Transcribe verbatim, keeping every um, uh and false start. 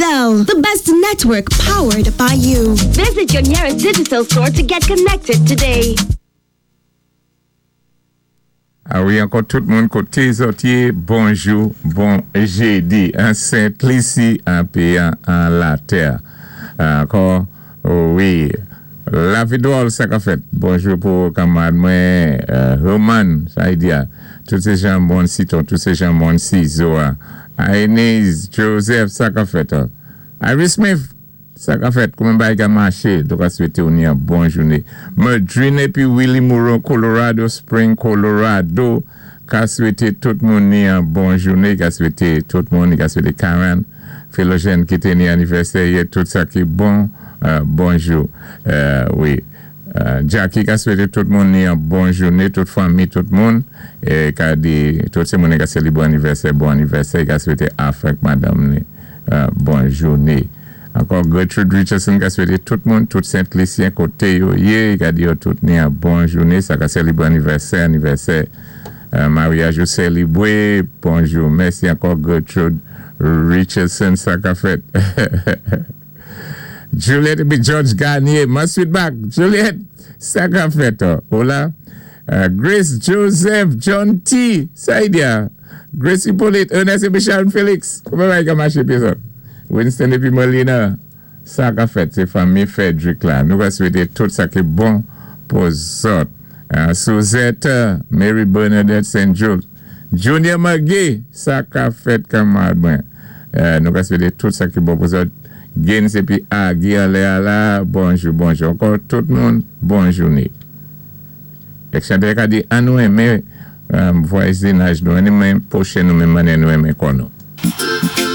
Digicel, the best network powered by you. Visit your nearest Digicel store to get connected today. A wi, ankò tout moun koté zòt yé, bonjou, bon jédi, an Sent Lisi, an péyi an Latè. Ankò, wi, Lavi dwòl sa ka fèt. Bonjou pou kanmarad mwen, Roman, sa y di a, tout sé janbon siton, tout sé janbon sizo a. Aenez, Joseph, sa ka fèt. Iris Smith, sa ka fèt, kouman bagay ka maché, donk a swété ou ni an bon jouné. Madrine épi Willie Moreau, Colorado Spring, Colorado, ka swété tout moun ni an bon jouné, ka swété tout moun, ka swété Karen, Philogène ki té ni anivèsè, tout sa ki bon, bonjou. Wi, Jackie ka swété tout moun ni an bon jouné, tout fanmi, tout moun, ka di, tout sé moun ka sélibré anivèsè, bon anivèsè, ka swété Afek madanm ni, bon jouné. Ankò Gertrude Richardson ka swété tout moun, tout Sent Lisyen koté yo yé, ka di yo tout ni an bon jouné, sa ka sélibré anivèsè, anivèsè, maryaj yo sélibré, bonjou, mèsi ankò Gertrude Richardson, sa ka fèt. Juliette épi George Garnier, ma sweet back, Juliette, sa ka fèt, hola. Grace Joseph, John T, sa y di a, Grace Hippolyte, Ernest épi Sharon Felix, kouman bagay ka maché pi zòt? Winston épi Molina, sa ka fèt, sé fanmi Frederick la. Nou va swété tout sa ki bon pou zòt. Suzette, Mary Bernadette Saint Jules, Junior McGee, sa ka fèt kanmarad mwen. Nou va swété tout sa ki bon pou zòt. Gens épi Agi alé ala, bonjou, bonjou. Ankò tout moun, bon jouné. Ek chantè ka di, an nou enmen vwazinaj nou, an nou enmen pwochen nou menm mannyè nou enmen kò nou.